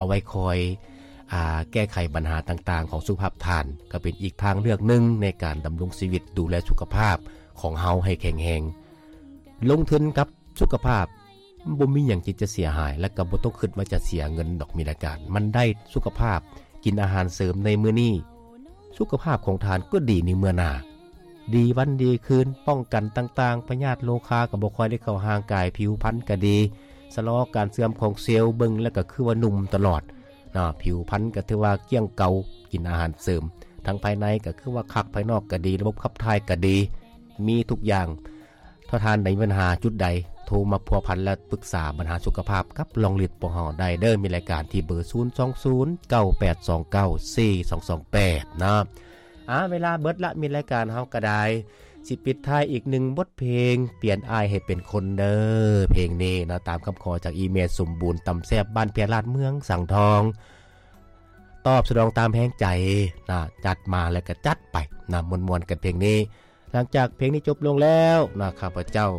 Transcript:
ເອົາໄວ້ຄອຍ ອາ ແກ້ໄຂບັນຫາຕ່າງໆຂອງສຸຂະພາບທ່ານ ກໍເປັນອີກທາງເລືອກໜຶ່ງໃນການດຳລົງຊີວິດ ດູແລສຸຂະພາບຂອງເຮົາໃຫ້ແຂງແຮງ. ລົງທຶນກັບສຸຂະພາບ ບໍ່ມີຫຍັງທີ່ຈະເສຍຫາຍ ແລະກໍບໍ່ຕ້ອງຄິດວ່າຈະເສຍເງິນດອກ ມີລາຍການ ມັນໄດ້ສຸຂະພາບ ກິນອາຫານເສີມໃນມື້ນີ້ ສຸຂະພາບຂອງທ່ານກໍດີໃນເມື່ອໜ້າ ດີວັນດີຄືນ ປ້ອງກັນຕ່າງໆ ພະຍາດໂລຄາກໍບໍ່ຄ່ອຍໄດ້ເຂົ້າຮ່າງກາຍ ຜິວພັນກໍດີ ຊະລໍການເສື່ອມຂອງເຊວ ເບິ່ງແລ້ວກໍຄືວ່າໜຸ່ມຕະຫຼອດເນາະ ຜິວພັນກໍຖືວ່າກ້ຽງເກົ່າ ກິນອາຫານເສີມ ທາງພາຍໃນກໍຄືວ່າຄັກ ພາຍນອກກໍດີ ລະບົບຂັບຖ່າຍກໍດີ ມີທຸກຢ່າງ. ຖ້າທ່ານໄດ້ມີບັນຫາຈຸດໃດ ໂທມາພົວພັນ ແລະ ປຶກສາບັນຫາສຸຂະພາບກັບລອງລິດພວກເຮົາໄດ້ເດີ້ ມີລາຍການທີ່ເບີ ສູນສອງສູນ ເກົ້າແປດສອງເກົ້າ ສີ່ສອງສອງແປດ ເນາະ. ອາ ເວລາເບິດລະ ມີລາຍການເຮົາກໍໄດ້ ຊິປິດທ້າຍອີກໜຶ່ງບົດເພງ ປ່ຽນອ້າຍໃຫ້ເປັນຄົນເດີ້ ເພງນີ້ເນາະ ຕາມຄຳຂໍຈາກອີເມລ ສົມບູນ ຕຳແຊບ ບ້ານເພຍລາດ ເມືອງສັງທອງ ຕອບສະໜອງຕາມແຮງໃຈນະ ຈັດມາແລ້ວກໍຈັດໄປນະ ມ່ວນໆກັນເພງນີ້. ຫຼັງຈາກເພງນີ້ຈົບລົງແລ້ວນະ ຂ້າພະເຈົ້າ